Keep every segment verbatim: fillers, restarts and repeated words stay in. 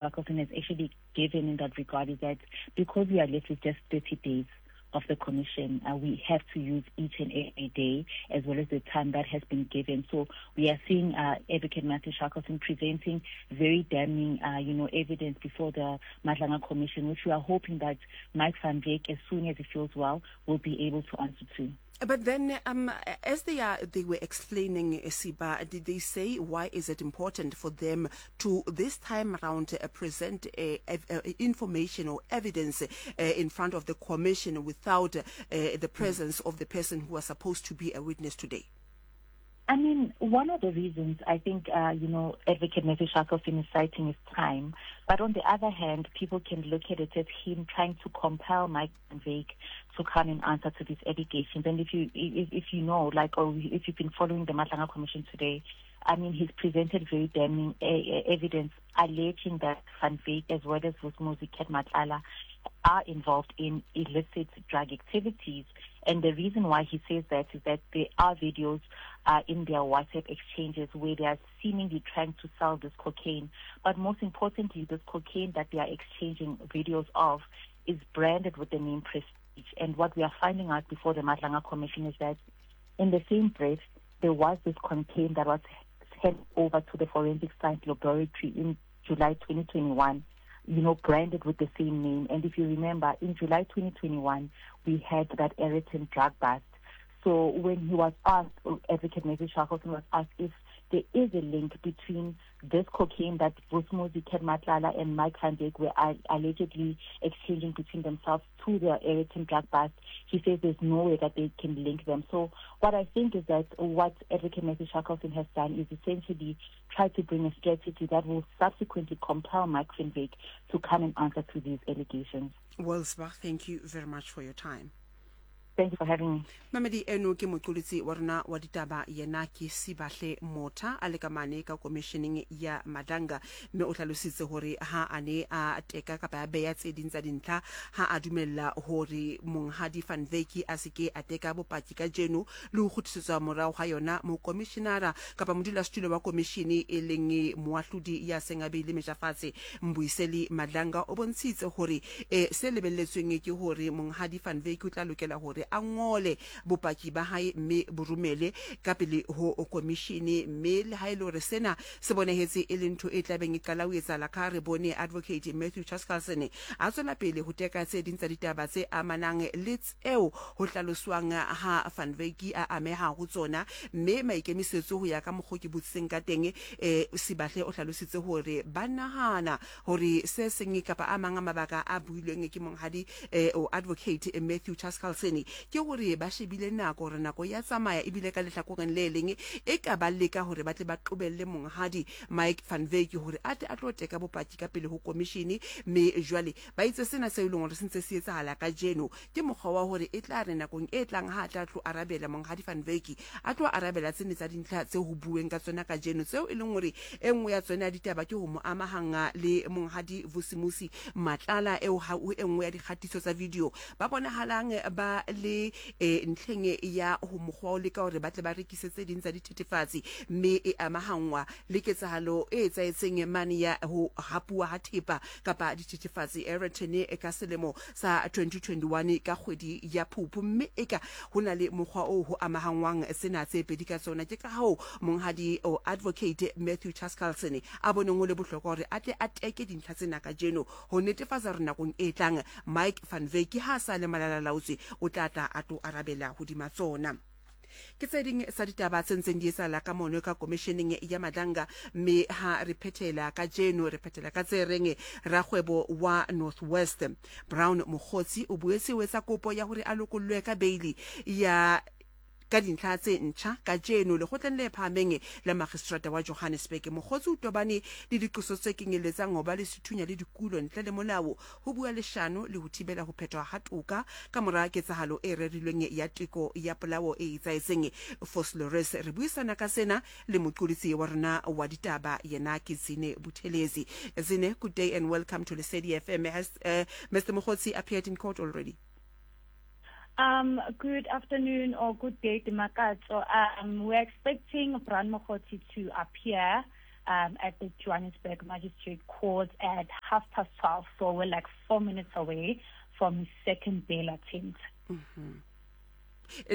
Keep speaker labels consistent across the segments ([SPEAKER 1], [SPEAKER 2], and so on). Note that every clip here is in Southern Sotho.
[SPEAKER 1] Shackleton has actually given in that regard is that because we are left with just thirty days of the commission, uh, we have to use each and every day as well as the time that has been given. So we are seeing, uh, Advocate Matthew Shackleton presenting very damning, uh, you know, evidence before the Madlanga Commission, which we are hoping that Mike Van Wyk, as soon as he feels well, will be able to answer to.
[SPEAKER 2] But then, um, as they are, they were explaining, Siba, did they say why is it important for them to this time around, uh, present, uh, ev-, uh, information or evidence, uh, in front of the commission without, uh, the presence of the person who was supposed to be a witness today?
[SPEAKER 1] I mean, one of the reasons I think, uh, you know, Advocate Matthew Shackleton is citing is time. But on the other hand, people can look at it as him trying to compel Mike Van Wyk to come and answer to these allegations. And if you, if, if you know, like, or if you've been following the Madlanga Commission today, I mean, he's presented very damning, uh, uh, evidence alleging that Van Wyk, as well as Vusimuzi Cat Matlala, are involved in illicit drug activities. And the reason why he says that is that there are videos, uh, in their WhatsApp exchanges where they are seemingly trying to sell this cocaine. But most importantly, this cocaine that they are exchanging videos of is branded with the name Prestige. And what we are finding out before the Madlanga Commission is that in the same breath, there was this cocaine that was sent over to the Forensic Science Laboratory in July twenty twenty-one, you know, branded with the same name. And if you remember, in July twenty twenty-one, we had that Aeroton drug bust. So when he was asked, Advocate Matthew Shackleton was asked if there is a link between this cocaine that Vusimuzi Cat Matlala and Mike Van Wyk were al-, allegedly exchanging between themselves to their Aeroton drug bust, he says there's no way that they can link them. So what I think is that what Advocate Matthew Shackleton has done is essentially try to bring a strategy that will subsequently compel Mike Van Wyk to come and answer to these allegations.
[SPEAKER 2] Well, Sibah, thank you very much for your time.
[SPEAKER 1] Thank you for having me.
[SPEAKER 2] Mamedi eno ke moqolotsi wa rona wa ditaba, yena ke Sibahle Motha, a le ka mane ka commissioning ya Madlanga, mme o hlalositse hore ha a ne a teka kapa a beya tse ding tsa dintlha, ha a dumella hore monghadi Van Wyk a se ke a teka bopaki kajeno le ho kgutlisetswa morao ha yona mokomishinara kapa modulasetulo wa komishini e leng moahlodi ya seng a beile meja fatshe Mbuyiseli Madlanga o bontshitse hore, eh, se lebelletsweng ke hore monghadi Van Wyk o tla lokela hore a ngole bopaki ba hae mme bo romele ka pele ho komishini, mme le ha e le hore sena se bonahetse e le ntho e tlabeng e qala ho etsahala ka re bone Advocate Matthew Chaskalson a tswela pele ho teka tse ding tsa ditaba tse amanang le tseo ho hlaloswang ha Van Wyk a ameha ho tsona, mme maikemisetso ho ya ka mokgwa ke botsitseng ka teng, eh, Sibahle o hlalositse hore ba nahana hore se seng kapa a mang a mabaka a builweng ke monghadi, eh, o Advocate Matthew Chaskalson ke hore ba shebile nako hore nako ya tsamaya ebile ka lehlakoreng le leng e ka ba leka hore ba tle ba qobelle monghadi Mike Van Wyk hore a tle a tlo teka bopaki ka pele ho komishini, mme jwale ba itse sena se e leng hore se ntse se etsahala kajeno ke mokgwa wa hore e tla re nakong e tlang ha a tla tlo arabela monghadi Van Wyk a tlo arabela tsene tsa dintlha tse ho bueng ka tsona kajeno, tseo e leng hore e nngwe ya tsona ya ditaba ke ho mo amahanga le monghadi Vusimuzi Matlala eo ha o e nngwe ya dikgatiso tsa video ba bonahalang ba le, eh, ntlheng ya ho mokgwa o leka hore ba tle ba rekise tse ding tsa dithethefatsi, mme e amahangwa le ketsahalo e etsahetseng mane ya ho hapuwa ha thepa kapa dithethefatsi Aeroton e ka selemo sa twenty twenty-one ka kgwedi ya Phupu, mme e ka ho na le mokgwa o ho amahangwang sena tse pedi ka tsona. Ke ka hoo monghadi o Advocate Matthew Chaskalson a boneng ho le bohlokwa hore a tle a teke dintlha tsena kajeno ho netefatsa hore nakong e tlang Mike Van Wyk ha a sa le malalalaotswe o tla tla a tlo arabela hodima tsona. Ke tse ding tsa ditaba tse ntseng di etsahala ka mono ka commissioning ya Madlanga, mme ha re phethela kajeno re phethela ka tse reng rakgwebo wa North West Brown Mogotsi o boetse o etsa kopo ya hore a lokollwe ka bail ya ka dintlha tse ntjha kajeno lekgotleng le phahameng la magistrata wa Johannesburg. Mogotsi o tobane le diqoso tse kenyelletsang ho ba le sethunya le dikulo ntle le molao, ho bua leshano le ho thibela ho phethwa ha toka ka mora ketsahalo e rerilweng ya teko ya polao e etsahetseng Vosloorus. Re buisana ka sena le moqolotsi wa rona wa ditaba yena ke Zine Buthelezi. Zine, good day and welcome to Lesedi F M. Has, uh, Mister Mogotsi appeared in court already?
[SPEAKER 3] Um, good afternoon or good day, Dimakatso. Um, we're expecting Brown Mogotsi to appear um, at the Johannesburg Magistrate Court at half past twelve. So we're like four minutes away from his second bail attempt.
[SPEAKER 2] Mm-hmm.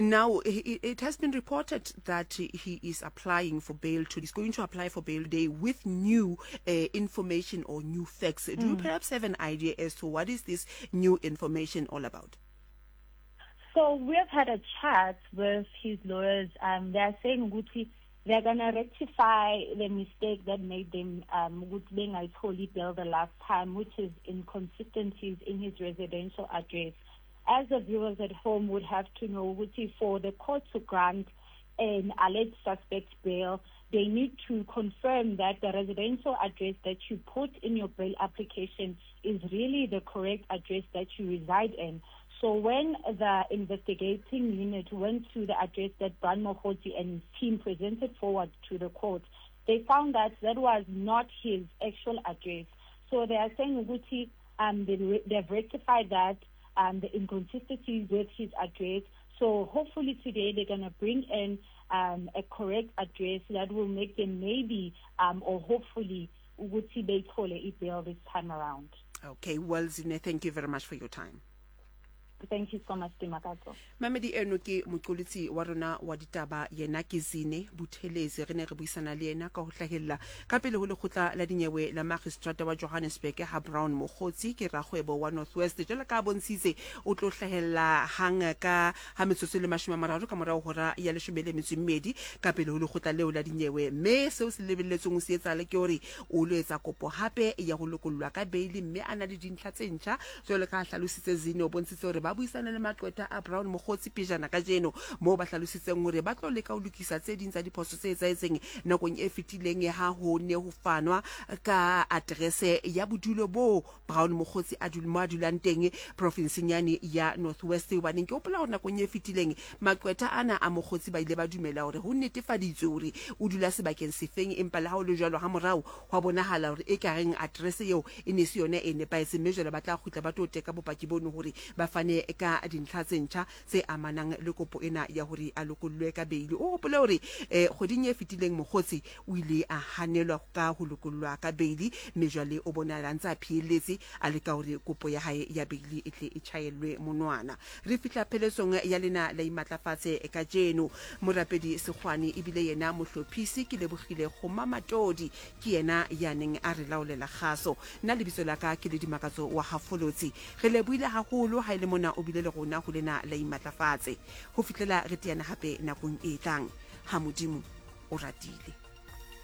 [SPEAKER 2] Now, it has been reported that he is applying for bail. To, he's going to apply for bail today with new uh, information or new facts. Do mm. you perhaps have an idea as to what is this new information all about?
[SPEAKER 3] So we've had a chat with his lawyers. Um, they're saying Guti, they're going to rectify the mistake that made them um, holy bail the last time, which is inconsistencies in his residential address. As the viewers at home would have to know, Guti, for the court to grant an alleged suspect bail, they need to confirm that the residential address that you put in your bail application is really the correct address that you reside in. So when the investigating unit went to the address that Brown Mogotsi and his team presented forward to the court, they found that that was not his actual address. So they are saying, Guti, um, they, they've rectified that, um, the inconsistencies with his address. So hopefully today they're going to bring in um, a correct address that will make them maybe um, or hopefully Guti beyithole bail this time around.
[SPEAKER 2] Okay, well, Zine, thank you very much for your time.
[SPEAKER 3] Thank you so much, Dimakato.
[SPEAKER 2] Mamedi eno ke moqolotsi wa rona wa ditaba, yena ke Zine Buthelezi. Re ne re buisana le yena ka ho hlahella ka pele ho lekgotla la dinyewe la magistrata wa Johannesburg ha Brown Mogotsi ke rakgwebo wa North West. Jwalo ka bontshitse o tlo hlahella hang ka ha metsotso le mashome a mararo ka morao hora ya leshome le metso e mmedi ka pele ho lekgotla leo la dinyewe. Mme seo se lebelletsweng ho se etsahale ke hore o lo etsa kopo hape ya ho lokollwa ka bail, mme a na le dintlha tse ntjha jwalo ka hlalositse Zine. O bontshitse hore ba buisana le maqwetha a Brown Mogotsi pejana kajeno, moo ba hlalositseng hore ba tlo leka ho lokisa tse ding tsa diphoso tse etsahetseng nakong e fetileng ha ho ne ho fanwa ka address ya bodulo bo Brown Mogotsi a dul mo a dulang teng profinseng yane ya North West. Hobaneng ke hopola hore nakong e fetileng maqwetha ana a Mogotsi ba ile ba dumela hore ho netefaditswe hore o dula sebakeng sefeng, empa le ha ho le jwalo ha morao hwa bonahala hore e ka reng address eo e ne se yona e nepahetseng, mme jwale ba tla kgutla ba tlo teka bopaki bono hore ba fane ka dintlha tse ntjha tse amanang le kopo ena ya hore a lokollwe ka beili. O hopole hore eh kgweding e fetileng Mogotsi o ile a hanelwa ka ho lokollwa ka beili, mme jwale o bonahala ntse a phiyelletse a leka hore kopo ya hae ya beili e tle e tjhaellwe monwana. Re fihla pheletsong ya lena la Imatlafatse kajeno. Morapedi Sekgwane ebile yena mohlophisi ke lebohile Kgoma Matodi, ke yena ya neng a re laolela kgaso. Nna lebitso la ka ke le Dimakatso wa Hafolotsi. Re lebohile haholo ha ile mona o bile le rona ho lena la Imatlafatse. Ho fihlela re teana hape nakong e tlang, ha Modimo o ratile.